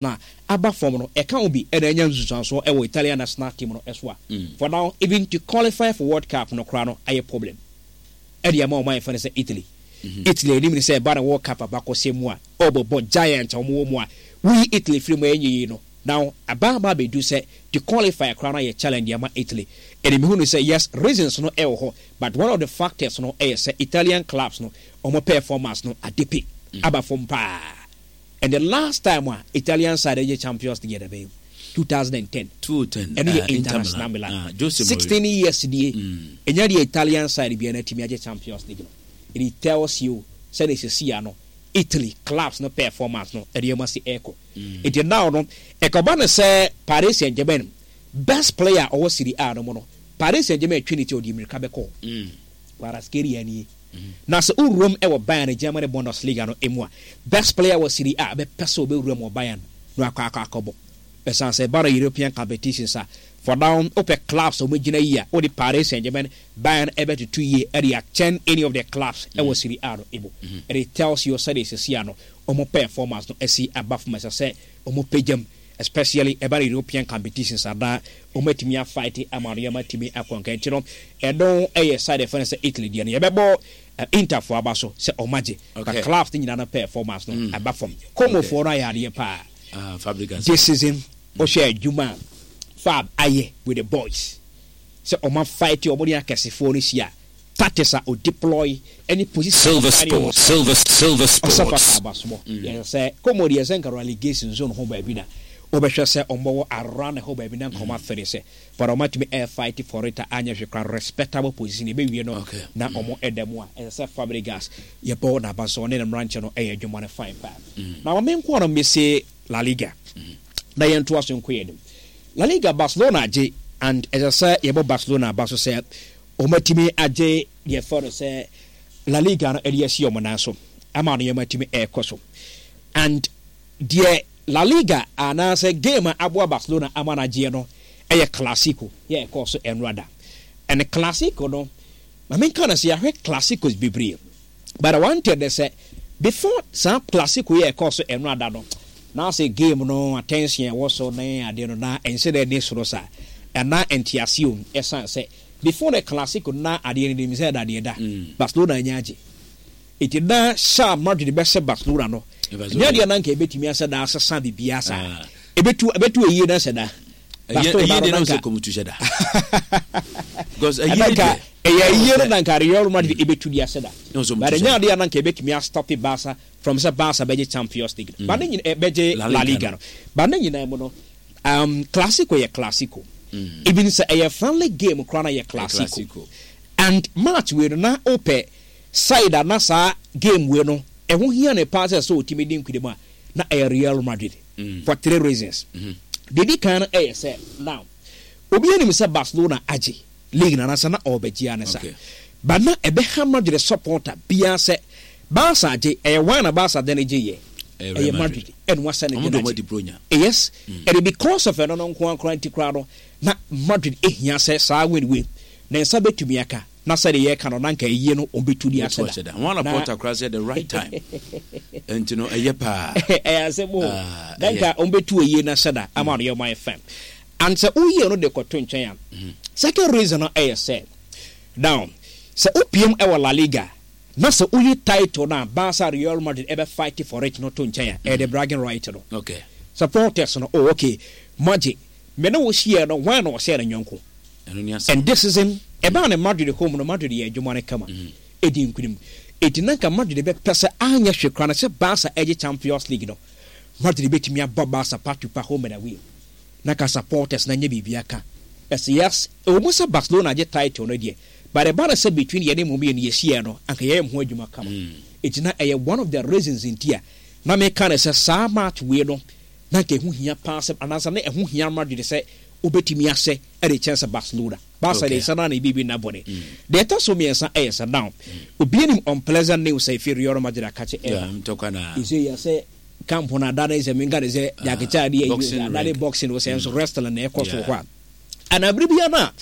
Na aba fam no, ɛka ho bi na anya nsunsuansoɔ wɔ Italian national team no so a, for now even to qualify for World Cup no koraa no ayɛ problem de ama wɔn a yɛfrɛ no sɛ Italy. Italy anim ne sɛ ɛba no World Cup abakɔsɛm mu a, ɔrebɛbɔ giant a wɔwɔ mu a, woyi Italy firi mu a ɛnyɛ yie no, now aba aba abɛdu sɛ to qualify koraa no ayɛ challenge de ama Italy. Ɛna mehu no sɛ yes, reasons no wɔ hɔ, but one of the factors no yɛ sɛ Italian clubs no wɔn performance no adepe aba fam paa. And the last time a Italian side gye Champions League yɛ da bɛn? 2010. 2010. Ɛno yɛ International Milan. 16 years nie. Ɛnya deɛ Italian side biara na atumi agye Champions League no. And it tells you sɛdeɛ sɛsi ano Italy clubs no performance no ɛde ɛma si ɛkɔ. Nti now no ɛkɔba no sɛ Paris Saint-Germain best player ɔwɔ Serie A no mu no, Paris Saint-Germain twe ne ti ɔde mmirika bɛkɔ. Kvaratskhelia nie. Na sɛ wowuram wɔ Bayern Germany Bundesliga no mu a, best player wɔ Serie A bɛpɛ sɛ ɔbɛwura mu wɔ Bayern na wakɔ akɔ akɔbɔ. Ɛsiane sɛ ɛba no European competitions a, for now wopɛ clubs a wɔgyina yie a, wode Paris Saint-Germain, Bayern bɛtoto yie de akyɛn any of the clubs wɔ Serie A no mu. And it tells you sɛdeɛ seesei ano wɔn performance no asi aba fam. Ɛsɛ sɛ wɔpagya mu, especially ɛba no European competitions a na wɔatumi a fight ama nneɛma atumi akɔ nka. Nti no ɛno yɛ side ɛfɛ no sɛ Italy deɛ no yɛbɛbɔ Interfoɔ aba so sɛ wɔn agye, but clubs no nyinaa no performance no aba fam. Como foɔ no ayɛ adeɛ paa this season. Wohwɛ adwuma a Fab ayɛ with the boys sɛ wɔn a fight wɔn ne akɛsefoɔ no hyia, tactics a ɔdeploy ne position Silver a ɔfa ne wɔn Sports, Silver, Silver ɔsɛ Sports. fata abasobɔ. Yɛsɛ sɛ Como deɛ sɛ nka relegation zone ho baabi na wobɛhwɛ sɛ ɔmbɔwɔ around hɔ baabi na nka ɔmo afere sɛ but ɔmo atumi air fight for it a anyɛ hwee koraa respectable position ɛbɛwie no na ɔmo ɛda mu a ɛsɛ sɛ Fabregas yɛbɔ n'aba so ɔne ne mmeranteɛ no ɛyɛ adwuma no fine paa. Na ma menkoa no mmɛsie La Liga na yɛntoa so nkɔ yɛn anim. La Liga, Barcelona agye and ɛsɛ sɛ yɛbɔ Barcelona aba so sɛ wɔatumi agye deɛ ɛfɛ no sɛ La Liga no de asi wɔn nan so ama nneɛma atumi ɛrekɔ so. And deɛ La Liga anaasɛ game a aboa Barcelona ama no agyeɛ no ɛyɛ Clasico yɛ ɛkɔɔ so ɛnora da. And Clasico no, ma menka no sɛ yɛahwɛ Clasicos bebree, but I wanted sɛ before saa Clasico yɛ ɛkɔɔ so ɛnora da no, na sɛ game no attention ɛwɔ so ne adeɛ no na ɛnhyɛ dɛ ne soro saa, ɛna nteaseɛ om ɛsan sɛ before the Clasico na adeɛ no nim sɛ ɛda deɛ da Barcelona anya agye. Enti na hyɛ a Madrid bɛhyɛ Barcelona no, ɛnyɛ adeɛ na nka ɛbɛtumi asɛ da asesa biribiara saa. Ɛbɛtu ɛbɛtu ayie na sɛ da. Barcelona no na nka ɛna nka ɛyɛ ayie no na nka Real Madrid ɛbɛtu de asɛ da. But ɛnyɛ adeɛ na nka ɛbɛtumi astɔpe Barca from sɛ Barca bɛgye Champions League no. But ne nyina ɛbɛgye La Liga no. But ne nyinaa mu no, Clasico yɛ Clasico. Even sɛ ɛyɛ friendly game koraa na yɛ Clasico. And match wei no na wopɛ side a na saa game wei no ɛho hia no paa sɛ sɛ ɔtumi di nkunim a, na ɛyɛ Real Madrid for three reasons. Deɛ ɛdi kan no ɛyɛ sɛ now obi anim sɛ Barcelona agye league no anaasɛ na ɔrebɛgye ara ne sa. But na ɛbɛha Madrid supporter biara sɛ Barca agye, ɛyɛ hwan na Barca de no gye yɛ? Ɛyɛ Madrid ɛna wasa ne de no agye. Yes, ɛde because of ɛno no nko ara koraa nti koraa no na Madrid ehia sɛ saa win wei ne nsa bɛtumi aka. Na sɛdeɛ yɛreka no na anka ayie no wɔbɛtu de ahyɛ da. Wɔn Laporta koraa sɛ the right time nti no ɛyɛ paa. Ɛyɛ asɛm o. Na anka wɔbɛtu ayie no ahyɛ da ama no yɛ ɔman fam. And sɛ woyie no de kɔto nkyɛn a, second reason no ɛyɛ sɛ now sɛ wopiem wɔ La Liga na sɛ woyi title no a Barca, Real Madrid ɛbɛ fight for it no to nkyɛn a, ɛyɛ the bragging right no. Supporters no, oh okay, moagye. Me ne wo hyiaɛ no, hwan na ɔhyɛɛ ne yɔnko? And this season, ɛbaa no Madrid home no, Madrid yɛɛ adwuma no kama, ɛdii nkunim. Enti na anka Madrid bɛpɛ sɛ anyɛ hwee koraa no sɛ Barca ɛgye Champions League no, Madrid bɛtumi abɔ Barca pa to pa home and away. Na anka supporters no anyɛ biribi aka. Ɛsɛ yes, ɛwɔ mu sɛ Barcelona agye title no deɛ, but ɛba no sɛ between yɛne mo mmienu yɛhyiaɛ no, anka yɛyɛ mo ho adwuma kama. Enti na ɛyɛ one of the reasons nti a na meka no sɛ saa match wei no, na anka ɛho hia paa sɛ, anaasɛ na ɛho hia Madrid sɛ wobɛtumi ahyɛ de kyɛn sɛ Barcelona. Barca de nsa no ara na ɛbɛbi nna bɔne. Deɛ ɛtɔ so mmiɛnsa yɛ sɛ now obi anim unpleasant news a ɛfiri Real Madrid akakye ɛreba. Ɛsɛ yɛ sɛ camp no adane sɛ menka ne sɛ Jackie Chan de ayi adane boxing sɛ nso wrestling na ɛkɔ so hɔ a. Ana bere biara no a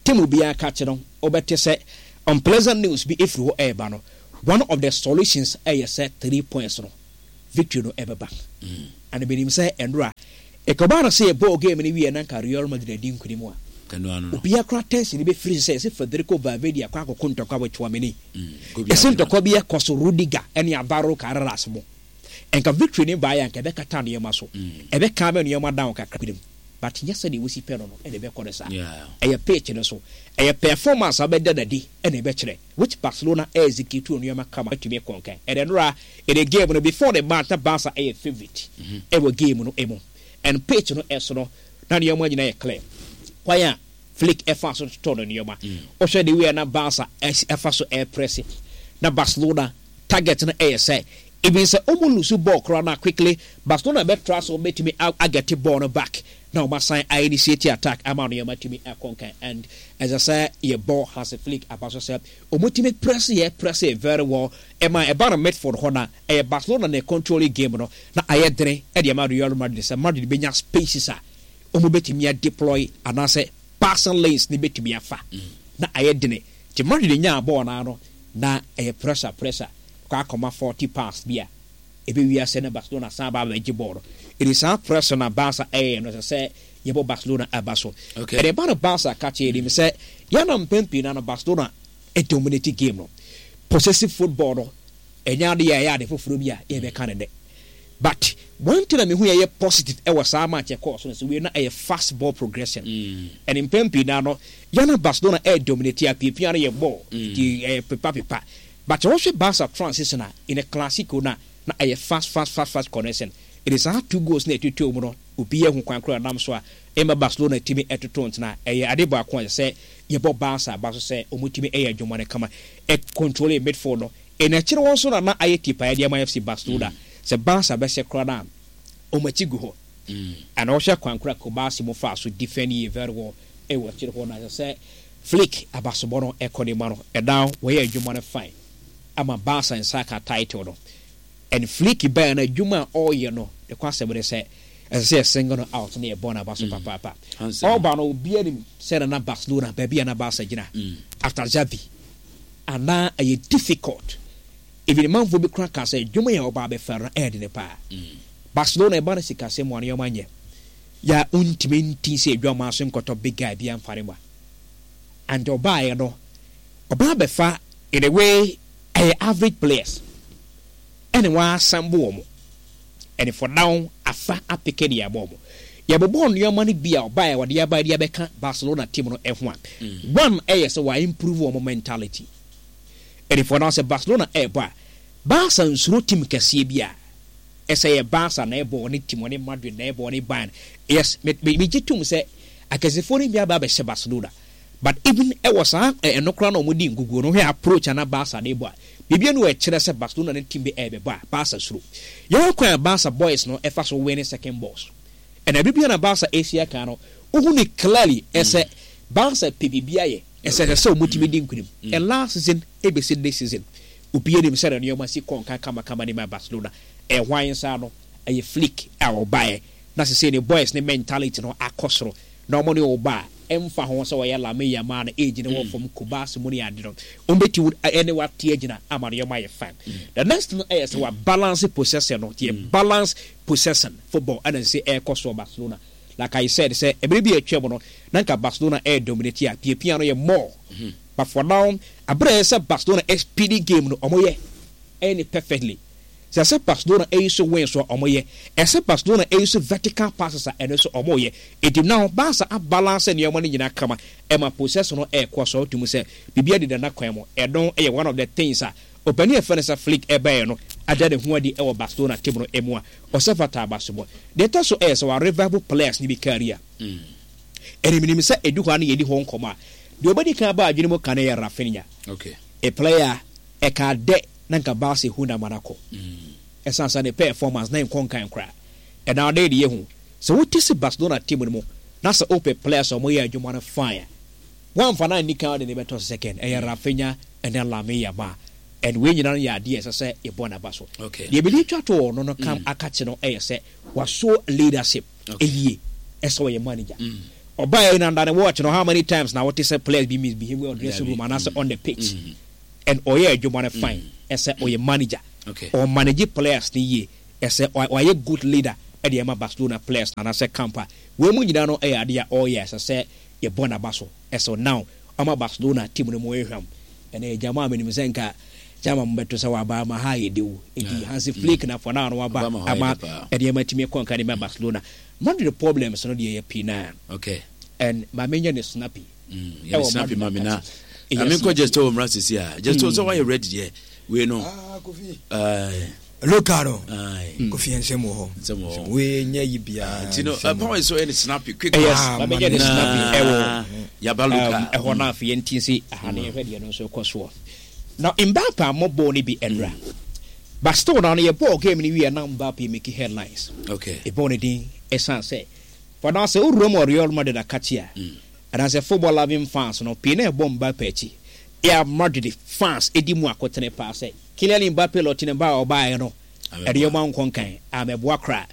team biara kakye no wobɛte sɛ unpleasant news bi ɛfiri hɔ ɛreba no, one of the solutions ɛyɛ sɛ 3 points no victory no ɛbɛba. And menim sɛ ɛnora ɛkɔbaa no sɛ yɛbɔɔ game no wieɛ na nka Real Madrid adi nkunim a, obiara koraa tension no bɛfiri so sɛ yɛse Federico Valverde akɔ akɔko ntɔkwa wɔ Tchouameni. Yɛse ntɔkwa bi ɛkɔ so Rudiger ne Alvaro Carreras mo. Nka victory no baeɛ a nka ɛbɛkata nneɛma so, ɛbɛ calm nneɛma down kakra nkunim. But nyɛ sɛdeɛ wosi pɛ no no na ɛbɛkɔ no saa. Ɛyɛ pitch no so, ɛyɛ performance a wobɛda no adi na ɛbɛkyerɛ. Which Barcelona execute nneɛma kama atumi kɔ nkan. And ɛnora in the game no before the match na Barca ɛyɛ favourite ɛwɔ game no mu. And pitch no ɛso no na nneɛma nyinaa yɛ clear. Kwan a Flick ɛfa so totɔ no nneɛma. Wohwɛ the way a na Barca ɛfa so ɛpress na Barcelona target no ɛyɛ sɛ even sɛ ɔmo lose ball koraa no a quickly Barcelona bɛtra so bɛtumi agɛte ball no back na wɔn asan a initiate attack ama nneɛma atumi akɔ nkan and ɛsɛ sɛ yɛbɔ Hansi Flick aba so sɛ wɔtumi press yɛ press yɛ very well ɛma ɛba no midfield hɔ na ɛyɛ Barcelona na control game no na ayɛ dene ɛde ama Real Madrid sɛ Madrid bɛnya spaces a wɔn bɛtumi a deploy anaasɛ passing lanes ne bɛtumi afa na ayɛ dene nti Madrid nyaa bɔɔl no ano na ɛyɛ pressure pressure kɔ akɔma 40 pass bi a Ɛbɛwie ase na Barcelona san aba abɛgye bɔɔl no. Ɛdi saa press no a Barca ɛyɛ no, ɛsɛ sɛ yɛbɔ Barcelona aba so. Okay. Ɛde ba no Barca ka kyerɛ yɛnim sɛ yɛn mpɛn pii na no Barcelona dominate game no. Possessive football no, ɛnyɛ ade a ɛyɛ ade foforɔ bi a yɛbɛka no nnɛ. But one thing a mehu yɛyɛ positive ɛwɔ saa match ɛkɔɔ so no sɛ wei na ɛyɛ fast ball progression. Ɛne mpɛn pii na no yɛn na Barcelona ɛyɛ dominate a piapia no yɛ ball. Nti ɛyɛ pepa pepa. But sɛ wohwɛ Barca transition a in a Clasico no a na ɛyɛ fast fast fast fast connection. Ɛde saa two goals no a ɛtotɔɔ mu no obiara hu kwan koro a ɛnam so a ɛma Barcelona tumi toto ntena. Ɛyɛ ade baako a ɛsɛ sɛ yɛbɔ Barca aba so sɛ wɔtumi yɛ adwuma no kama. Ɛ controlling midfield no. Ɛna akyire hɔ nso na na ayɛ tipaeɛ de ama FC Barcelona. Sɛ Barca bɛhyɛ koraa no a wɔn akyi gu hɔ. Ɛna wohwɛ kwan koro a Cubarsi mo faa so defend yie very well ɛwɔ akyire hɔ no a ɛsɛ sɛ Flick abasobɔ no kɔ ne ma no ɛna wɔyɛ adwuma no fine ama Barca nsa aka title no and Flick baɛ no adwuma a ɔyɛ no ne kwasɛm ne sɛ ɛsɛ sɛ yɛ single no out na yɛbɔ no aba so papaapa. Ɔba no obiara nim sɛ na na Barcelona baabi a na Barca gyina after Xavi anaa ɛyɛ difficult even manfoɔ bi koraa kaa sɛ adwuma yɛ ɔba abɛfa no ɛyɛ dene paa. Barcelona ɛba no sikasɛm mu a nneɛma nyɛ yɛ a wontumi nti sɛ adwamaa so nkɔtɔ big guy bi amfa ne ma. And ɔbaeɛ no, ɔbaa bɛfa in a way ɛyɛ average players ɛna wa assemble wɔn and for now afa apeke de abɔ wɔn. Yɛbobɔɔ nneɛma no bi a ɔbaeɛ wɔde aba de abɛka Barcelona team no ho a, one ɛyɛ sɛ wa improve wɔn mentality and for now sɛ Barcelona ɛrebɔ a, Barca nsuro team kɛseɛ bi a. Ɛsɛ yɛ Barca na ɛbɔ ɔne team ɔne Madrid na ɛbɔ ɔne Bayern. Yes, me me megye tom sɛ akɛsefoɔ no bi aba abɛhyɛ Barcelona. But even ɛwɔ saa ɛno koraa na wɔn di nkuguo no, wohwɛ approach a na Barca de bɔ a, biribi anu a ɛkyerɛ sɛ Barcelona ne team bi ɛrebɛbɔ a, Barca suro. Yɛwɔ kwan a Barca boys no ɛfa so win second balls. Ɛna biribi a na Barca ɛsi aka no, wohu no clearly ɛsɛ Barca pɛ biribi ayɛ, ɛsɛ ɛsɛ sɛ wɔn tumi di nkunim. And last season ɛbɛsi this season, Obiara nim sɛdeɛ nneɛma si kɔ nkan kamakama de ma Barcelona. Ɛyɛ hwan nsa ano? Ɛyɛ Flick a ɔbaeɛ na sesei ne boys ne mentality no akɔ soro na wɔn ne wo ba a, ɛmfa ho sɛ ɔyɛ Lamine Yamal no age no wɔ fam, Cubarsi mu ne ade no, wɔbɛtumi ne wo ate agyina ama nneɛma ayɛ fine. The next no ɛyɛ sɛ wa balance possession no, nti yɛ balance possession football ɛna sesei ɛrekɔ so wɔ Barcelona. Like I said sɛ ɛberɛ bi a atwam no na nka Barcelona ɛredominate a, piapia no yɛ more. But for now, aber a ɛsɛ sɛ Barcelona speedy game no, wɔyɛ ɛyɛ no perfectly. Sɛ ɛsɛ Barcelona ɛyi so wings a, wɔyɛ. Ɛsɛ Barcelona ɛyi so vertical passes a, ɛno nso wɔyɛ. Enti now Barca abalance nneɛma no nyinaa kama, ɛma possession no ɛrekɔ so. Wotu mu sɛ biribiara deda n'akwan mu. Ɛno yɛ one of the things a ɔpanin a yɛfrɛ no sɛ Flick ɛbaeɛ no ada ne ho adi wɔ Barcelona team no mu a ɔsɛ fata abasobɔ. Deɛ ɛtɔ so ɛyɛ sɛ wa revive players no bi career. Ɛne menim sɛ ɛdu hɔ a na yɛdi ho nkɔmmɔ a, deɛ ɔbɛdi kan aba adwene mu ka no yɛ Raphinha. Okay. A player a ɛkaa dɛ na nka Barca hu no ama no akɔ. Ɛsiane sɛ ne performance na ɛnkɔ nkan koraa. Ɛna ɔde de yɛhu. Sɛ wote si Barcelona team no mu na sɛ wopɛ players a wɔyɛ adwuma no fine a, woamfa no anni kan wode no bɛtɔ second. Ɛyɛ Raphinha ɛne Lamine Yamal. And wei nyinaa no yɛ adeɛ a ɛsɛ sɛ yɛbɔ n'aba so. Okay. Deɛ mede twa to wɔ no no kam akakye no yɛ sɛ waso leadership. Yie ɛsɛ ɔyɛ manager. Ɔbaa yi na nda ne watch no how many times na wote sɛ players bi misbehave wɔ dressing room anaasɛ on the pitch and ɔyɛ adwuma no fine ɛsɛ ɔyɛ manager. Ɔ manage players no yie ɛsɛ ɔyɛ good leader. de ama Barcelona players no anaasɛ camp a wei mu nyinaa no yɛ adeɛ a ɔreyɛ a ɛsɛ sɛ yɛbɔ n'aba so. So now ɔma Barcelona team no mu rehwam. Ɛnɛ gyama a menim sɛ nka gyama mo bɛto sɛ waba ama ha ayɛ dew. Nti Hansi Flick na for now no waba ama nneɛma atumi kɔ nka de ma Barcelona. Madrid problems no deɛ yɛ pii naa. Okay. And ma menyɛ ne snappy. Yɛ ne snappy ma me na. Na menkɔ just wɔ mmra sisi a. Just sɛ wayɛ ready deɛ. Wei no. Ah, Kofi. Local no. Kofi nsɛm wɔ hɔ. Nsɛm wɔ hɔ. Wei nyɛ yi biara. Nti no, power is so ɛne snappy quick. Yes, ma menyɛ ne snappy ɛwɔ. Yaba local. Ɛhɔ no afei yɛnti nsi aha ne yɛhwɛ deɛ no nso ɛkɔ soɔ. Now Mbappe ammɔ bɔɔl no bi ɛnora. But still now no yɛbɔɔ game no wie na Mbappe make headlines. Okay. Yɛbɔɔ ne din ɛsan sɛ for now sɛ wowura mu wɔ Real Madrid akakye a anaasɛ football loving fans no pii na ɛbɔ Mbappe akyi. Real Madrid fans di mu akotene paa sɛ Kylian Mbappe lɔte ne ba a ɔbaeɛ no ɛde ɔma nkɔ nkan ammɛboa koraa.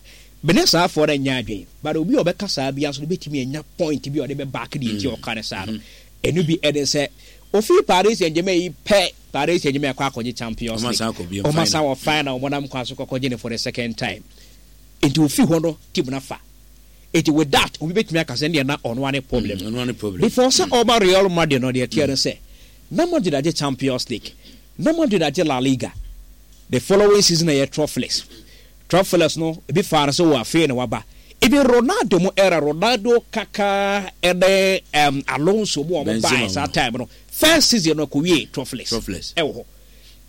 Me ne saa foɔ no nyɛ adwene but obi a ɔbɛka saa biara nso no bɛtumi anya point bi a ɔde bɛ back deɛ nti a ɔka no saa no. Ɛno bi ɛne sɛ ofii Paris Saint-Germain yi pɛ Paris Saint-Germain akɔ akɔgye Champions League. Ɔma san wɔ final ɔmo nam kwan so kɔkɔgye no for the second time. Nti ofii hɔ no team no afa. Nti with that obi bɛtumi aka sɛ ɛndeɛ na ɔno ara ne problem. Before sɛ ɔba Real Madrid no deɛ ɛteɛ ne sɛ na Madrid agye Champions League, na Madrid agye La Liga. The following season ɛyɛ Trophless. Trophless no ebi faa no sɛ oh afei na waba. Even Ronaldo mo era, Ronaldo, Kaka ɛne um, Alonso mo a wɔn baeɛ saa time no, first season no ɛkɔwie Trophless ɛwɔ hɔ.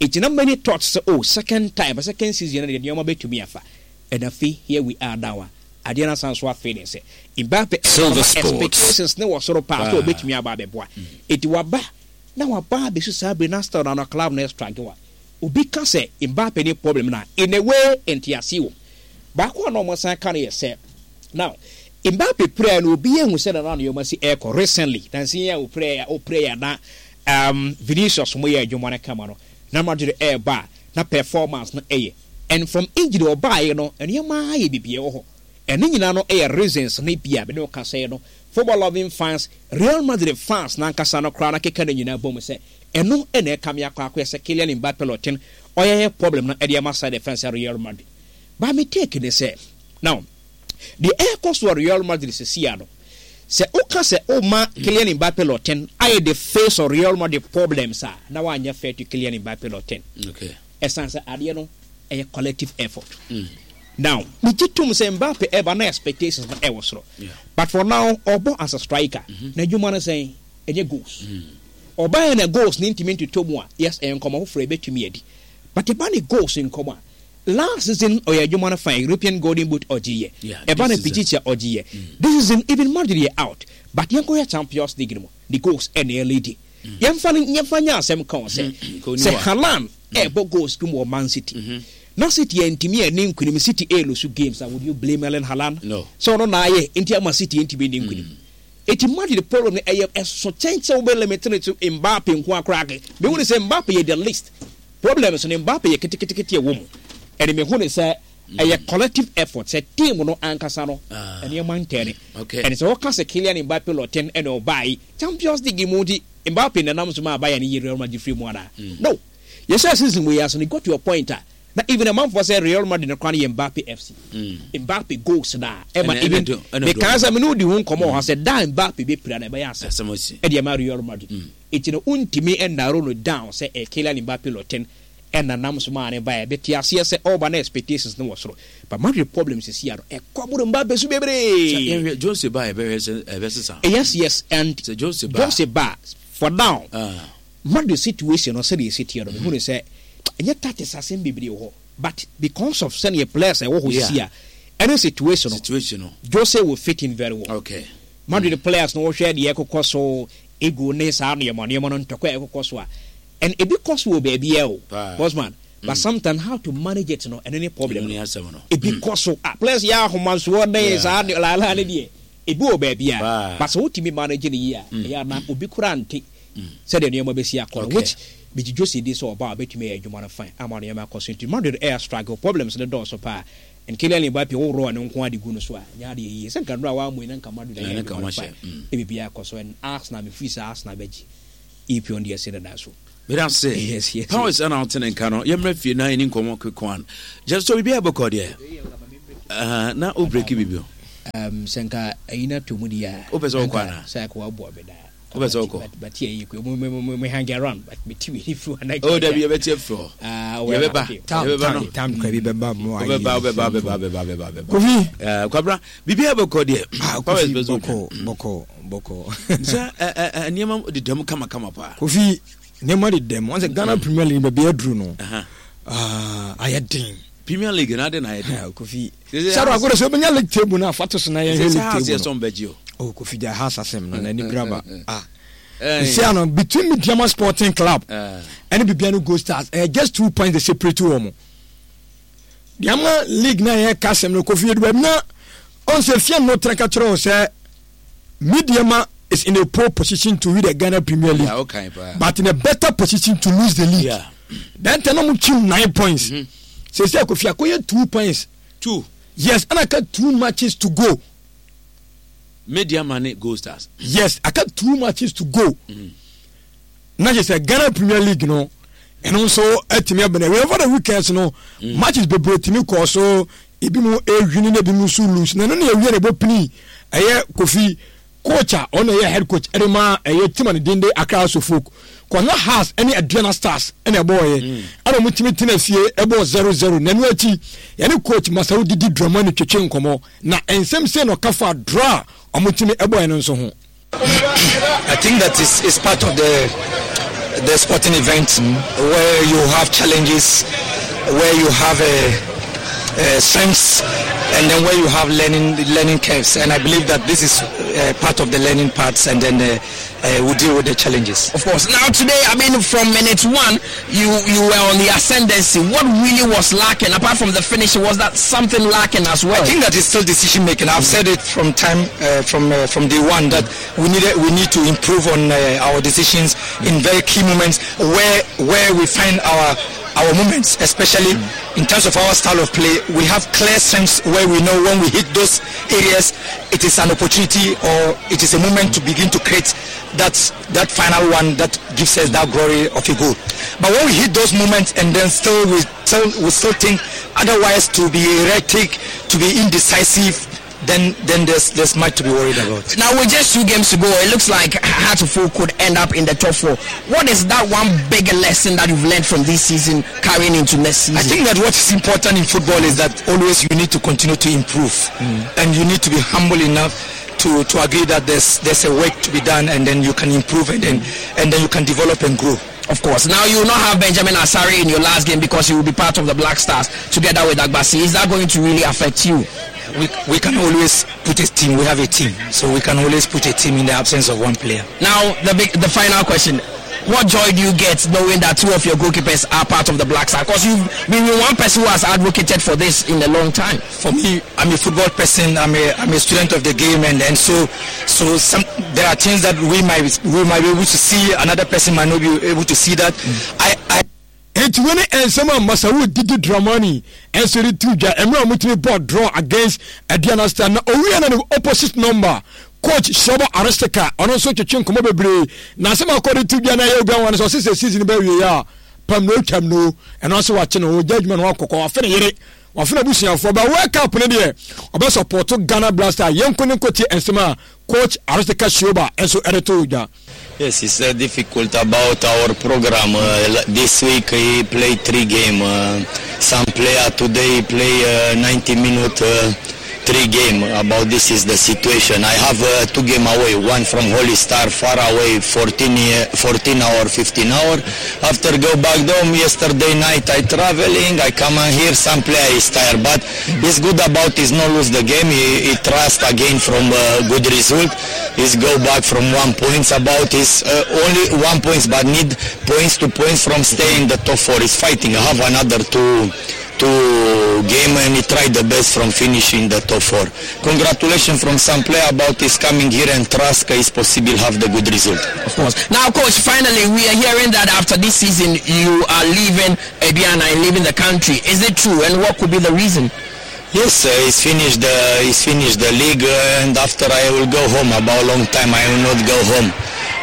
Nti na many thought sɛ oh second time, second season no deɛ nneɛma bɛtumi afa. And afei here we are now a adeɛ no asan so afei ne sɛ Mbappe Silver Sports. expectations ne wɔ soro paa sɛ ɔbɛtumi aba abɛboa. Enti waba na waba abɛsi saa bere na still na no club no struggle a obi ka sɛ Mbappe ne problem no a in a way ntease wom. Baako a na wɔsan ka no yɛ sɛ now Mbappe pirae no obi ahu sɛ na na nneɛma si ɛrekɔ recently nansa yi a ɔpirae ɔpirae a na um, Vinicius mo yɛ adwuma no kama no na Madrid ɛreba a na performance no ɛyɛ And from injury ɔbaeɛ no nneɛma ayɛ biribi ɛwɔ hɔ. Ɛno nyinaa no yɛ reasons no bi a me ne wo kasa yi no football loving fans, Real Madrid fans no ankasa no koraa no akeka ne nyinaa bom sɛ ɛno na ɛkame akɔ akɔyɛ sɛ Kylian Mbappe Lottin ɔyɛyɛ problem no de ama side defense Real Madrid. But me take ne sɛ now deɛ ɛrekɔ so wɔ Real Madrid sesia no sɛ woka sɛ woma Kylian Mbappe Lottin ayɛ the face of Real Madrid problems a na woanyɛ fair to Kylian Mbappe Lottin. Okay. Ɛsan sɛ adeɛ no ɛyɛ collective effort. Now megye tom sɛ Mbappe ɛba na expectations no ɛwɔ soro. But for now ɔbɔ as a striker. N'adwuma no sɛn? Ɛnyɛ goals. Ɔbaeɛ na goals no ntumi ntotɔ mu a, yes ɛyɛ nkɔmmɔ foforɔ ɛbɛtumi adi. But ɛba ne goals nkɔmmɔ a, last season ɔyɛ adwuma no fine, European Golden Boot ɔgyeeɛ. Ɛba no Pichichi a ɔgyeeɛ. This season even Madrid yɛ out. But yɛnkɔhwɛ Champions League no mu, ne goals ɛna ɛleadi. Yɛmfa no yɛmfa nyɛ asɛm ka o sɛ sɛ Haaland ɛrebɔ goals kum wɔ Man City na City antumi anni nkunim City ɛrelusu games a would you blame Erling Haaland No. sɛ ɔno na ayɛ nti ama City antumi anni nkunim eti Madrid problem no ɛyɛ ɛso kyɛn sɛ wobɛ limit no to Mbappe nko ara koraa ke mehu ne sɛ Mbappe yɛ the least problems no Mbappe yɛ keteketekete ɛwɔ mu ɛne mehu ne sɛ Ɛyɛ collective effort sɛ team no ankasa no nneɛma ntɛne. Ɛne sɛ wɔka sɛ Kylian Mbappe Lottin ɛna ɔbae Champions League mu nti Mbappe na ɛnam so maa Bayern yi Real Madrid firi mu anaa? No. Yɛhyɛɛ season wei ase no it got to a point a na even amanfoɔ sɛ Real Madrid no koraa no yɛ Mbappe FC. Mbappe goals no a ɛma even mekaa sɛ me ne wo di ho nkɔmmɔ wɔ ha sɛ da a Mbappe bɛpira no ɛbɛyɛ asɛm ɛde ama Real Madrid. Enti no wontumi narrow no down sɛ ɛyɛ Kylian Mbappe Lottin ɛna nam so maa no baeɛ. Mete aseɛ sɛ ɔreba na expectations no wɔ soro but Madrid problem sisi ano ɛkɔ boro Mbappe so bebree. Sɛ yɛnhwɛ Jose ba a yɛbɛhwɛ sɛ ɛbɛsesa. Yes yes and Sɛ Jose ba a. Jose ba for now Ah. Madrid situation no sɛdeɛ ɛsi teɛ no mehu no sɛ ɛnyɛ tactics asɛm bebree wɔ hɔ but because of sɛdeɛ players a ɛwɔ hɔ sisi a ɛne situation no Situation no. Jose will fit in very well. Okay. Madrid players no wohwɛ deɛ ɛkokɔ so ego ne saa nneɛma nneɛma no ntɔkwa a ɛkokɔ so a And ebi kɔ so wɔ baabiaa o bossman but sometimes how to manage it no ɛno ne problem no ebi kɔ so ah players yɛ ahomasoɔ ne saa ne laalaa ne deɛ ebi wɔ baabiaa but sɛ wotumi manage no yie a ɛyɛ a na obi koraa nte sɛdeɛ nneɛma bɛsi akɔ no which megye Jose di sɛ ɔba a ɔbɛtumi ayɛ adwuma no fine ama nneɛma akɔ so nti Madrid ɛyɛ struggle problems no dɔɔso paa and Kylian Mbappe wo rɔɔ no nko ara de gu no so a nyɛ adeɛ yie sɛ nka nnora wammɔ yi na nka Madrid ayɛ adwuma no fine na biribiara akɔ so and Arsenal mefiri sɛ Arsenal bɛgye Epion deɛ se dada so. Meda ase. Yes, yes. Powers ana wote ne nka no. Yɛmmra fie na yɛni nkɔmmɔ quick one. Just so biribiara bɔkɔ deɛ. Uh, na o break bibi o. Um, sɛ nka ayi na to mu di a. O pɛ sɛ ɔkɔ ana? Sɛ akɔ aboa bɛ daa. O pɛ sɛ ɔkɔ. But yɛ yi kɔ mo mo mo hang around but me ti wi ni firi hɔ. O dabi yɛ bɛ tiɛ firi hɔ. Ah, yɛ bɛ ba. Yɛ bɛ ba no. Tam kura bi bɛ ba mo ayi. O bɛ ba o bɛ ba o bɛ ba o bɛ ba o bɛ ba o bɛ ba. Kofi. Ɛɛ Kwabra bibi a bɛ kɔ deɛ. Ah Kofi bɔkɔ bɔkɔ bɔkɔ. Sɛ ɛ ɛ nneɛma deda mu kama kama paa. Kofi nneɛma deda mu wɔn sɛ Ghana Premier League baabi aduru no. Ayɛ den. Premier League na ade na ayɛ den. Kofi. Saro agorɔ sɛ wobɛnya league table no a fa to so na yɛnhwɛ league table no. Bɛgye o. Oh Kofi gya ha asasɛm no n'ani braba. Ah. Nsia no between Medeama Sporting Club ɛne Bibiani Gold Stars ɛyɛ just 2 points they separate wɔn. Deɛ ama league na yɛka asɛm no Kofi edu baabi na ɔn sɛ fia no tena ka kyerɛ wo sɛ Medeama is in a poor position to win the Ghana Premier League, yeah, okay, but in a better position to lose the league. Yeah. Then tell them 9 points. Sɛ Kofi akoye 2 points. Two. Yes, and I got two matches to go. Medeama ne Gold Stars. Yes, I got two matches to go. Na kyerɛ sɛ Ghana Premier League no ɛno nso atumi abɛn ɛwɛ over the weekends no matches bebree tumi kɔɔ so, ebi mu ewini na ebi mu nso lose, na ɛno na ewie na ɛbɔ pini. Ɛyɛ Kofi coach a ɔno ɛyɛ head coach ɛde ma ɛyɛ team a ne din de Accra House of Folk kɔna Hearts ɛne Aduana Stars ɛna ɛbɔɔyɛ, ɛna wɔn tumi tena fie ɛbɔɔ 0-0. Na ɛno akyi yɛne coach Masawu Didi Dramani twetwe nkɔmɔ na nsɛm sɛ na ɔka fa draw a wɔn tumi ɛbɔɔyɛ no nso ho. I think that is part of the sporting event where you have challenges, where you have a strengths, and then where you have learning curves. And I believe that this is part of the learning parts, and then we deal with the challenges. Of course. Now today, I mean, from minute one, you were on the ascendancy. What really was lacking, apart from the finish, was that something lacking as well? I think that is still decision making. I've said it from time from day one that we need to improve on our decisions in very key moments where we find our moments, especially in terms of our style of play. We have clear strengths where we know when we hit those areas, it is an opportunity or it is a moment to begin to create that final one that gives us that glory of a goal. But when we hit those moments and then still we still think otherwise, to be erratic, to be indecisive, then there's much to be worried about. Now, with just two games to go, it looks like Hearts of Oak could end up in the top four. What is that one big lesson that you've learned from this season carrying into next season? I think that what is important in football is that always you need to continue to improve, and you need to be humble enough to agree that there's a work to be done, and then you can improve, and then you can develop and grow. Of course. Now, you will not have Benjamin Asare in your last game because he will be part of the Black Stars together with Agbasi. Is that going to really affect you? We can always put a team. We have a team, so we can always put a team in the absence of one player. Now, the final question. What joy do you get knowing that two of your goalkeepers are part of the Black Stars? Because you've been one person who has advocated for this in a long time. For me, I'm a football person. I'm a student of the game, and so there are things that we might be able to see. Another person might not be able to see that. I Eti wei ne nsɛm a Masawu Didi Dramani ɛnso de tu dwa mmerɛ a wɔtumi bɔ draw against Aduana Star. Na owie na ne opposite number, coach Shoba Aristica, ɔno nso twetwe nkɔmmɔ bebree na asɛm akɔ de tu dwa na ɛyɛ obi anwa no sɛ ɔse sɛ season bɛ wie a pam no otwam no ɛno ase wakye no ɔgya adwuma no wakɔkɔ wafe ne yere wafe n'abusuafoɔ ba World Cup no deɛ ɔbɛ support Ghana Blaster. Yɛnko ne nkotie nsɛm a coach Aristica Shoba nso ɛde to dwa. Yes, it's difficult about our program. This week he played three game. Some player today play 90 minute three game. About this is the situation. I have two game away. One from Holy Star far away, 14, 14 hour, 15 hour. After go back home yesterday night, I traveling. I come and here some player is tired, but it's good about is not lose the game. He trust again from good result. He's go back from 1 points about is only 1 points, but need points to points from stay in the top four. He's fighting. Have another two game and he tried the best from finishing the top four. Congratulations from some player about his coming here and trust is possible have the good result. Of course. Now, coach, finally, we are hearing that after this season you are leaving Aduana and leaving the country. Is it true? And what could be the reason? Yes, he's finished the league, and after I will go home. About long time I will not go home.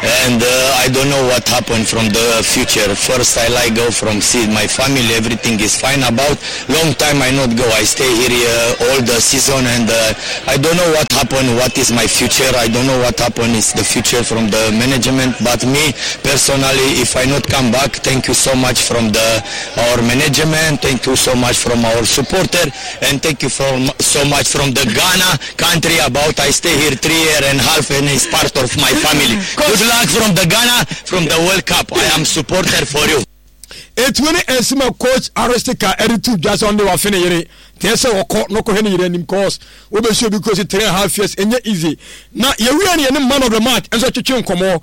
And I don't know what happened from the future. First, I like go from see my family. Everything is fine. About long time I not go. I stay here all the season, and I don't know what happened. What is my future? I don't know what happened. Is the future from the management. But me personally, if I not come back, thank you so much from the our management. Thank you so much from our supporter, and thank you from so much from the Ghana country. About I stay here 3 year and half, and it's part of my family. Good luck from the Ghana, from the World Cup. I am supporter for you. Etuo ne nsɛm a coach Aristica de to dwa sɛ ɔno de wafe ne yere teɛ sɛ ɔkɔ na ɔkɔhwɛ ne yere anim cause wobɛsi obi kuro si 3 and half years ɛnyɛ easy. Na yɛwie no yɛne man of the match nso twetwe nkɔmmɔ.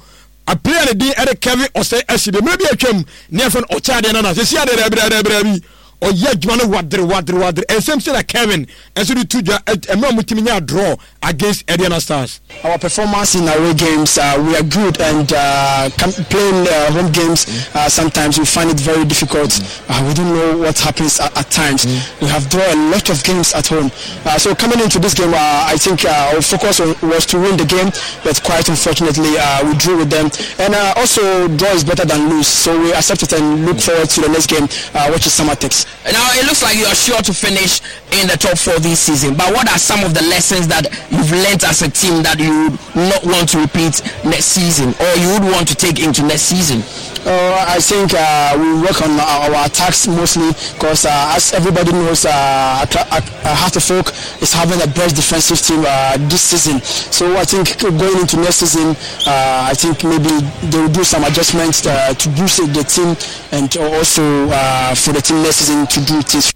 A player ne din ɛde Kevin Osei Asibe. Mmerɛ bi atwam ne yɛfrɛ no ɔkyɛ adeɛ nana sɛsi adeɛ daabi daabi daabi ɔyɛ adwuma no wadere wadere wadere. Nsɛm sɛ na Kevin nso de to dwa mmerɛ a wɔtumi nya draw against Aduana Stars. Our performance in away games, we are good, and playing home games, sometimes we find it very difficult. We don't know what happens at times. We have drawn a lot of games at home. So coming into this game, I think our focus was to win the game, but quite unfortunately, we drew with them. And also, draw is better than lose, so we accept it and look forward to the next game, which is Samartex. Now, it looks like you are sure to finish in the top 4 this season, but what are some of the lessons that you've learnt as a team that you would not want to repeat next season, or you would want to take into next season? I think we work on our attacks mostly because as everybody knows, Hearts of Oak is having the best defensive team this season. So I think going into next season, I think maybe they will do some adjustments to boost the team and also for the team next season to do things.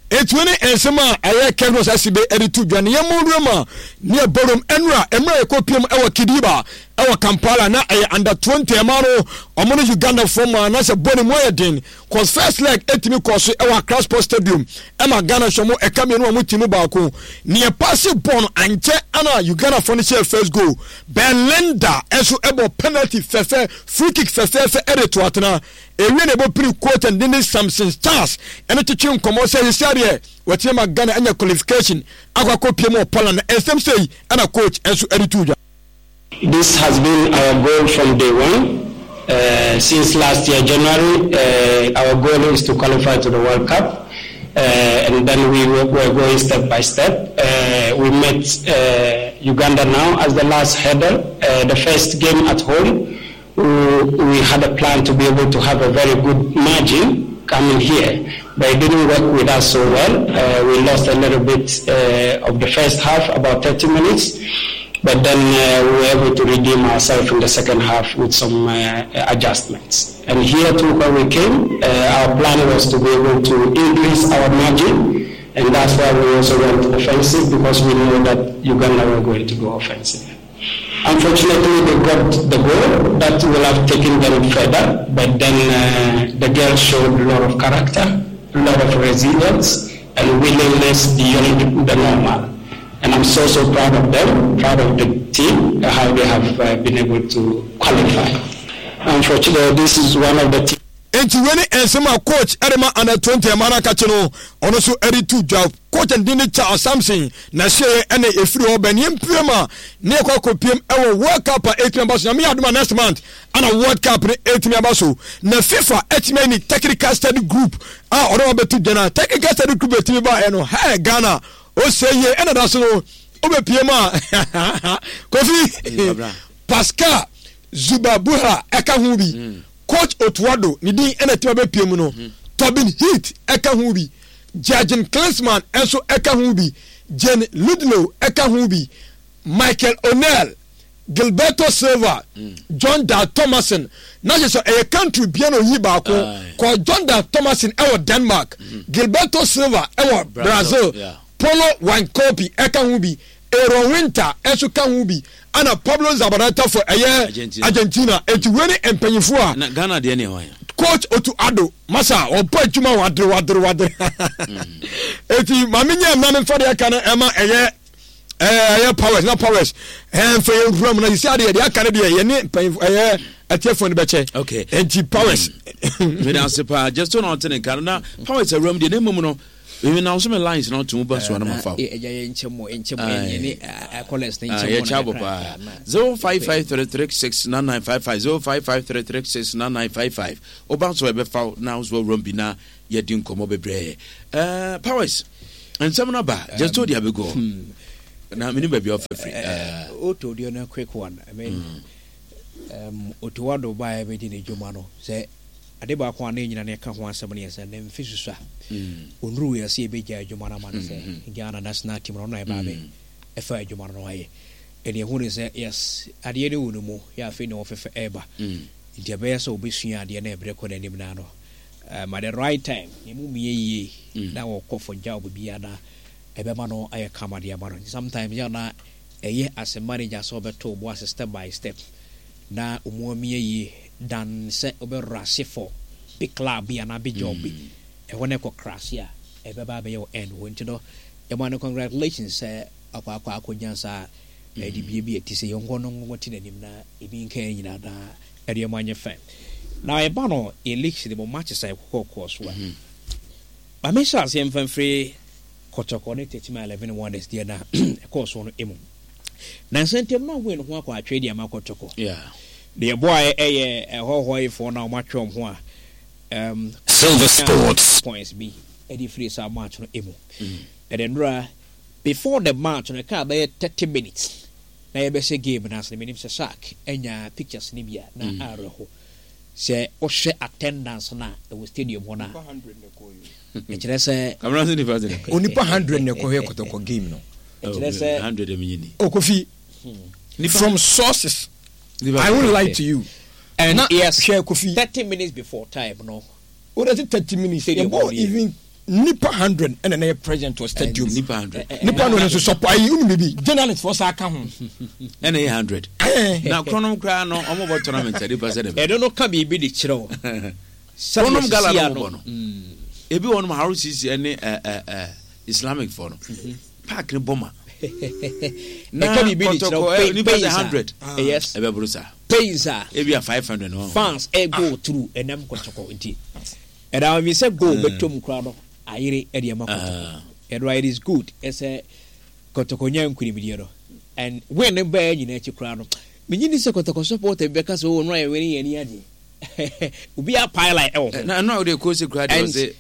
Etuo ne nsɛm a ɛyɛ Kevin Asibe de to dwa ne yɛn mu ma ne ɛbɔrom ɛnura mmerɛ yɛkɔ piem ɛwɔ Kidiba ɛwɔ Kampala na ɛyɛ under 20 ɛma no ɔmo no Uganda fo ma na sɛ bɔ ne mu ayɛ den cause first leg ɛtumi kɔɔ so ɛwɔ Accra Sports Stadium ɛma Ghana hyɛ mo ɛka mmienu a ɔmo ti mu baako ne ɛpaase bɔɔl no ankyɛ ɛna Uganda fo no hyɛ first goal. Belinda ɛnso ɛbɔ penalty fɛfɛ, free kick fɛfɛɛfɛ ɛde to atena. Ewie na ɛbɔ piri coach and ne Samson Stars ɛne twetwe nkɔmɔ sɛ sisi adeɛ wɔtumi ma Ghana anya qualification akɔ akɔ pie mu wɔ Poland na nsɛm sei ɛna coach ɛnso ɛde to dwa. This has been our goal from day one. Since last year, January, our goal is to qualify to the World Cup. And then we were going step by step. We met Uganda now as the last hurdle. The first game at home, we had a plan to be able to have a very good margin coming here, but it didn't work with us so well. We lost a little bit of the first half, about 30 minutes, but then we were able to redeem ourselves in the second half with some adjustments. And here too, when we came, our plan was to be able to increase our margin, and that's why we also went offensive, because we knew that Uganda were going to go offensive. Unfortunately, they got the goal that will have taken them further, but then the girls showed a lot of character, a lot of resilience, and willingness beyond the normal. And I'm so, so proud of them, proud of the team, how they have been able to qualify. Unfortunately, this is one of the teams. Enti wei ne nsɛm a coach de ma under 20 ɛma no akakye no ɔno nso de to dwa. Coach no din ne Charles Sampson na ɛhyɛeɛ ɛna ɛfiri hɔ bɛn yɛmpiem a ne yɛkɔ akɔpiem ɛwɔ World Cup a ɛtumi aba so. Nyame yɛ adom a next month ana World Cup no ɛtumi aba so. Na FIFA ɛtumi ayi ne technical study group a ɔno abɛto dwa na technical study group ɛtumi ba ɛno hɛ Ghana ɔsɛ yie ɛna da so no wobɛpiem a Kofi Pascal Zubabuha ɛka ho bi. Coach Otto Addo ne din na ɛtumi abɛpue mu no, Tobin Heath ka ho bi, Jurgen Klinsmann nso ka ho bi, Jane Ludlow ka ho bi, Michael O'Neill, Gilberto Silva, John Dahl Tomasson. Na kyerɛ sɛ ɛyɛ country bia na oyi baako. Kɔ John Dahl Tomasson ɛwɔ Denmark, Gilberto Silva ɛwɔ Brazil, Paulo Wanchope ɛka ho bi, Aaron Winter nso ka ho bi, ɛna Pablo Zabaleta for ɛyɛ Argentina. Eti wei ne mpanyinfoɔ a. Na Ghana deɛ ne hwan? Coach Otto Addo masa ɔbɔ adwuma wadere wadere wadere. Eti maame nyɛ mma me nfa deɛ aka no ɛma ɛyɛ ɛyɛ powers na powers ɛnfɛ yɛn wura mu na sisi adeɛ deɛ aka no deɛ yɛne mpanyinfoɔ ɛyɛ ɛtiɛfoɔ no bɛkyɛ. Okay. Eti powers. Meda ase paa just na ɔte ne nka no na powers awura mu deɛ ne mmom no. Mimi na ɔsɛ me lines na ɔtumi ba so anam afa. Ɛgya yɛ nkyɛn mu nkyɛn mu ɛnyɛ ne callers ne nkyɛn mu na kakra. Yɛ kyɛ paa. 0553369955 0553369955. Ɔba nso ɛbɛfa na nso awuram bi na yɛdi nkɔmɔ bebree. Ɛɛ powers nsɛm no ba just told you abego. Na mene baabi a ɔfa firi. Oto deɛ no quick one. I mean, Otto Addo baeɛ bɛdi ne dwuma no sɛ ade baako a na ɛnyina no ɛka ho asɛm no yɛ sɛ ne mfe susua. Ɔnuru yɛ sɛ yɛbɛgya adwuma no ama no sɛ Ghana national team no ɔno na ɛbaa bɛ ɛfa adwuma no no ayɛ. Ɛne ɛhu ne sɛ yes adeɛ no wɔ ne mu yɛ afei na ɔfɛfɛ ɛreba. Nti ɛbɛyɛ sɛ ɔbɛsua adeɛ na ɛberɛ kɔ n'anim no ano. At the right time ne mu mmiɛ yie na ɔkɔ for job biara na ɛbɛma no ayɛ kama de ama no. Nti sometimes yɛ na ɛyɛ as a manager sɛ ɔbɛto wo bo ase step by step na ɔmu amia yie than sɛ wobɛ rush for big club bi anaa big job bi. Ɛhɔ na ɛkɔ crash a ɛbɛba abɛyɛ wo end hɔ. Nti no yɛma no congratulations sɛ akɔ akɔ akɔnya saa adibie bi a ɛte sɛ yɛnkɔ no nkɔte n'anim na ebi nka yɛn nyinaa na ɛde ɛmo anyɛ fɛ. Na ɛba no yɛ leagues no mu matches a ɛkɔkɔ kɔɔ so a ma menhyɛ aseɛ mfa mfiri Kɔtɔkɔ ne Techiman 11 Wonders deɛ na ɛkɔɔ soɔ no mu. Nansa ntam na win ho akɔ atwere deɛ ama Kɔtɔkɔ. Deɛ ɛboaeɛ ɛyɛ ɛhɔhɔefoɔ no a wɔatwe wɔn ho a Silver Sports. Points bi ɛde firi saa match no mu. Ɛde nnora before the match no ɛkaa bɛyɛ 30 minutes na yɛbɛhyɛ game no ase no menim sɛ Shark anya pictures no bi a na awerɛho. Sɛ wohwɛ attendance no a ɛwɔ stadium hɔ no a, ɛkyerɛ sɛ. Kamara sɛ nipa sɛ. Onipa hundred na ɛkɔhwɛ kɔtɔkɔ game no. Ɛkyerɛ sɛ. Hundred ɛmi nyi ni. Okofi from sources I won't lie to you. And na yes, hwɛ Kofi. 30 minutes before time no. O de ti 30 minutes. Yɛ even nipa 100 ɛna na yɛ present wɔ stadium. Nipa 100. Nipa 100 nso sɔpɔ ayi unu bibi journalist fɔ saa ka ho. Ɛna yɛ 100. Na kronom koraa no ɔmo bɔ tournament ɛde ba sɛ dɛ. Ɛno no ka biribi de kyerɛ o. Kronom gala no ɔmo bɔ no. Ebi wɔ nom RCC ɛne ɛɛ ɛɛ Islamic fɔ no. Park ne bɔ ma. Na ɛka biribi de kyerɛ o. Nipa sɛ 100. Yes. Ɛbɛ boro saa. Pains a. Ebi a 500 no. Fans ɛ go through ɛnam kɔtɔkɔ nti. Ɛna ɔmi sɛ goal bɛtɔ mu koraa no ayere ɛde ama kɔtɔkɔ. Ɛno it is good ɛsɛ kɔtɔkɔ nya nkunimdie no and win no bɛɛ nyinaa akyi koraa no menyi ni sɛ kɔtɔkɔ supporter bi bɛka sɛ oh no ayɛ win yɛn ani agye obi a pile line ɛwɔ ho. Na ɛno a wode kɔ se koraa deɛ ɔse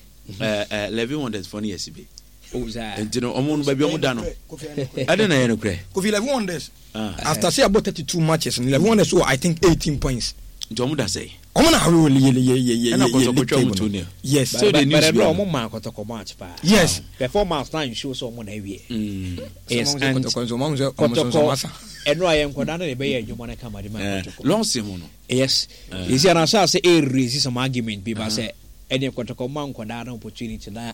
11 wonders fɔ no yɛ sibe. Nti no ɔmo no baabi ɔmo da no ɛde na ɛyɛ no korɛ. Kofi 11 wonders after say about 32 matches no 11 wonders wɔ I think 18 points. Nti ɔmo da sɛ. Ɔmo na awo yɛ yɛ yɛ yɛ yɛ league table no. Yes. So the news bi. But ɔmo maa kɔtɔkɔ match paa. Yes. Performance na nsuo sɛ ɔmo na awie. Yes and kɔtɔkɔ ɛno a yɛ nkɔda no na ɛbɛyɛ adwuma no kama de ma kɔtɔkɔ. Lɔnsi ho no. Yes. Yɛsi anaasɛ ase ɛrezi some argument bi ba sɛ ɛne kɔtɔkɔ ma nkɔda no opportunity na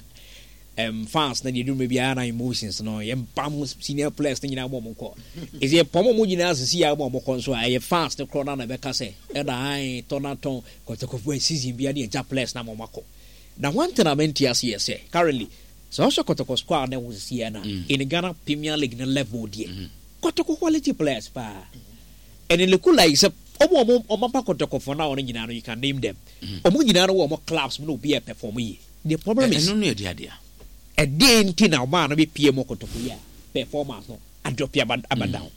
fans na deɛ duru biara na emotions no yɛn bam senior players no nyinaa bɔ wɔn kɔ ɛsɛ yɛ pɔn wɔn nyinaa sisi yɛ abɔ wɔn kɔ nso a ɛyɛ fans no korɔ na na ɛbɛka sɛ ɛna ae tɔn na tɔn kɔtɔkɔfo season bia ne ɛgya players na wɔn akɔ na one thing a mente ase yɛ sɛ currently sɛ ɔhyɛ kɔtɔkɔ squad na ɛwɔ sisi yɛ na in Ghana Premier League no level deɛ kɔtɔkɔ quality players paa and it look like sɛ ɔmo ɔmo ɔmo aba kɔtɔkɔfo na ɔno nyinaa no you can name them ɔmo nyinaa no wɔ ɔmo clubs mu na obi yɛ perform yie. The problem is. Ɛno no yɛ deɛ adeɛ. Ɛdeɛn nti na ɔmaa no bɛpie mu kotoko yi a performance no adrɔpe aba aba down.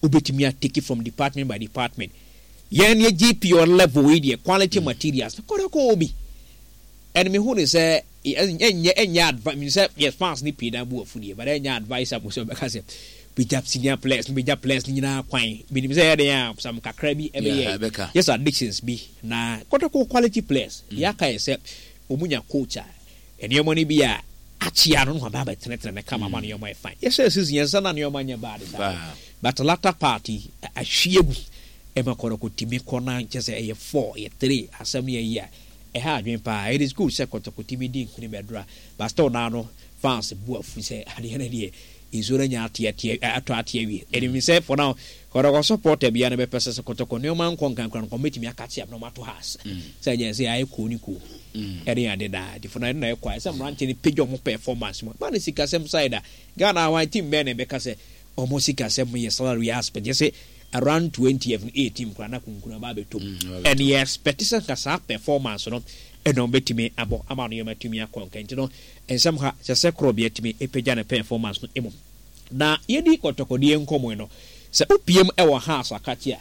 Wobɛtumi a take it from department by department. Yɛn yɛ GPO level yi deɛ quality materials no kotoko wɔ bi. And mehu ne sɛ ɛnyɛ ɛnyɛ advice menim sɛ yɛ fans no pii na bu afu deɛ but ɛnyɛ advisable sɛ ɔbɛka sɛ bɛgya senior players no bɛgya players no nyinaa kwan. Menim sɛ ɛyɛ den a some kakra bi ɛbɛyɛ just addictions bi na kotoko quality players deɛ aka yɛ sɛ Wɔn nya coach a nneɛma no bi a akyea no na waba abɛtenetene no kama ama nneɛma ayɛ fine. Yɛhyɛɛ season yɛn nsa na nneɛma nyɛ bad saa but latter part yi ahwie agu ɛma kɔtɔkɔ tumi kɔ na nkyɛ sɛ ɛyɛ four ɛyɛ three asɛm no yɛ yi a ɛha adwene paa. It is good sɛ kɔtɔkɔ tumi di nkunim ɛdora but still naa no fans bu afu sɛ adeɛ no deɛ nsuo no anya ate ate atɔ ate awie. Ɛnim sɛ for now kɔtɔkɔ supporter biara no bɛpɛ sɛ sɛ kɔtɔkɔ nneɛma nkɔ nkankora no kɔmɛtumi akakye abena ɔmo ato house sɛ ɛnyɛ sɛ ayɛ koo ne koo ɛne ade daa nti for now ɛno na ɛkɔ ayɛ sɛ mmeranteɛ no pagya ɔmo performance mu ba ne sikasɛm side a Ghana awan team bɛn na ɛbɛka sɛ ɔmo sikasɛm yɛ salary aspect yɛ sɛ. Around 20th no 18 koraa na kunkun aba abɛtɔ mu. And yɛ expect sɛ nka saa performance no ɛna wɔbɛtumi abɔ ama no yɛma atumi akɔ nka. Nti no nsɛm ha sɛ sɛ korɔ atumi apagya ne performance no mmom. Na yɛdi kɔtɔkɔdeɛ nkɔmmɔ yi no, sɛ wopiem wɔ Hearts akakye a,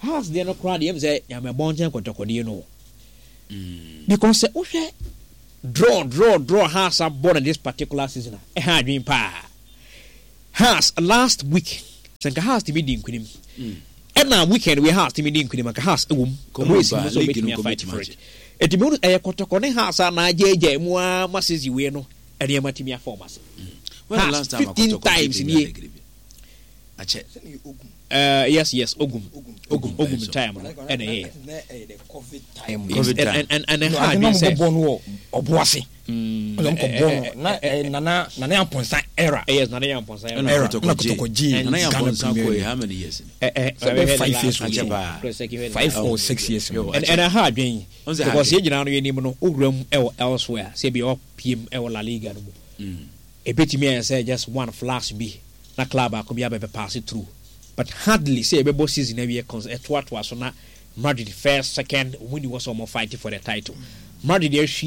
Hearts deɛ no koraa deɛ ɛm sɛ nyamɛbɔ nkyɛn kɔtɔkɔdeɛ no o. Because sɛ wohwɛ draw draw draw Hearts abɔ no this particular season a, ɛha adwene paa. Hearts last week sɛ nka Hearts tumi di nkunim ɛna weekend wei Hearts tumi di nkunim anka Hearts ɛwɔ mu race mu sɛ ɔbɛtumi afight for it. Ɛti mehu ɛyɛ kɔtɔkɔ ne Hearts a na agyaagyaa mu ara ma season wei no nneɛma tumi afa wɔn ase. Hearts 15 times nie. Yes, Ogum. Ogum, Ogum time no ɛna ɛyɛ. Covid time. And ɛha adwene sɛ. Bɔ no wɔ ɔboase. Ɔna kɔ bɔ no na nana nana Yamponsa era. Yes, nana Yamponsa era. Era na Kotoko gye Nana Yamponsa kɔ yi how many years? Sɛ bɛ 5 years o. 5 or 6 years. And ɛha adwene because yɛn nyinaa no yɛn nim no owura mu ɛwɔ elsewhere sɛ ebi ɔpiem ɛwɔ La Liga no mu. Ebetumi ayɛ sɛ just one flash bi na club baako bi abɛbɛ pass through, but hardly sɛ yɛbɛbɔ season awie cons ɛtoatoa so na Madrid first, second, wɔn ni wɔ sɛ wɔn fight for the title. Madrid ahwi.